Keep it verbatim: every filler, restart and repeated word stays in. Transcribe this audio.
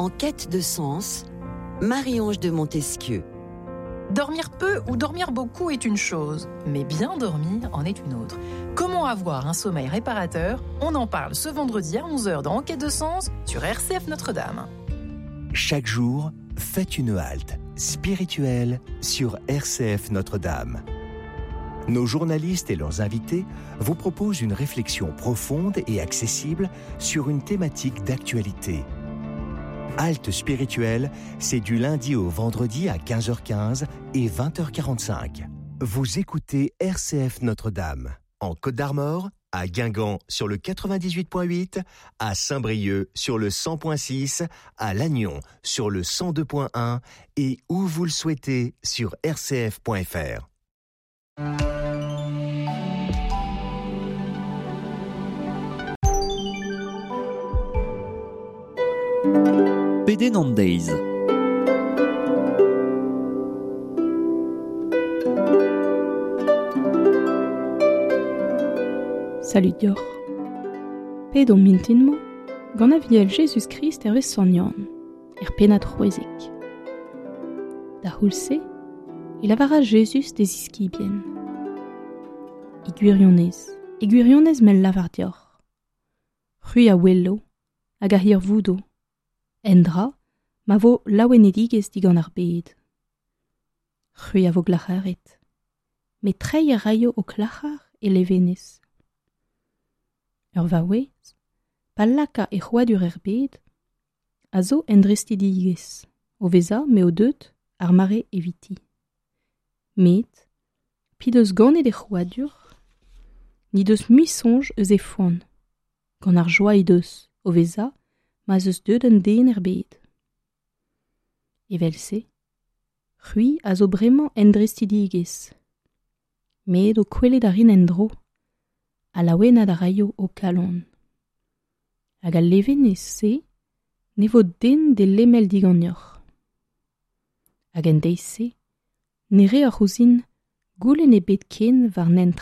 En quête de sens, Marie-Ange de Montesquieu. Dormir peu ou dormir beaucoup est une chose, mais bien dormir en est une autre. Comment avoir un sommeil réparateur? On en parle ce vendredi à onze heures dans En quête de sens sur R C F Notre-Dame. Chaque jour, faites une halte spirituelle sur R C F Notre-Dame. Nos journalistes et leurs invités vous proposent une réflexion profonde et accessible sur une thématique d'actualité. Halte spirituelle, c'est du lundi au vendredi à quinze heures quinze et vingt heures quarante-cinq. Vous écoutez R C F Notre-Dame, en Côte d'Armor, à Guingamp sur le quatre-vingt-dix-huit point huit, à Saint-Brieuc sur le cent point six, à Lannion sur le cent deux point un et où vous le souhaitez sur R C F point F R. Pedenn an deiz. Salut deoc'h. Ped on mintin-mañ, gant aviel Jezuz-Krist hervez Sant Yann, er pennad c'hwezek. Da c'houlz-se, e lavara Jezuz d'e ziskibien. E gwirionez, e gwirionez mel lavar deoc'h. C'hwi a welo hag a hirvoudo, endra ma vo laouenedigezh digant ar bed. C'hwi a vo glac'haret, met treiñ a raio ho klac'har e levenez. Ur vaouez, pa laka e c'hrouadur er bed, a zo en drestidigezh, o vezañ m'eo deut ar mare eviti. Met, p'he deus ganet e c'hrouadur, n'he deus mui soñj eus he foan, gant ar joa he deus, o vezañ ma'z eus deut un den er bed. Evel-se, c'hwi a zo bremañ en drestidigezh, met o kwelet a rin en-dro, ha laouenat a raio ho kalon. Hag al levenez-se ne vo den d'e lemel diganeoc'h. Hag en deiz-se, ne reoc'h ouzhin goulenn ebet ken war hent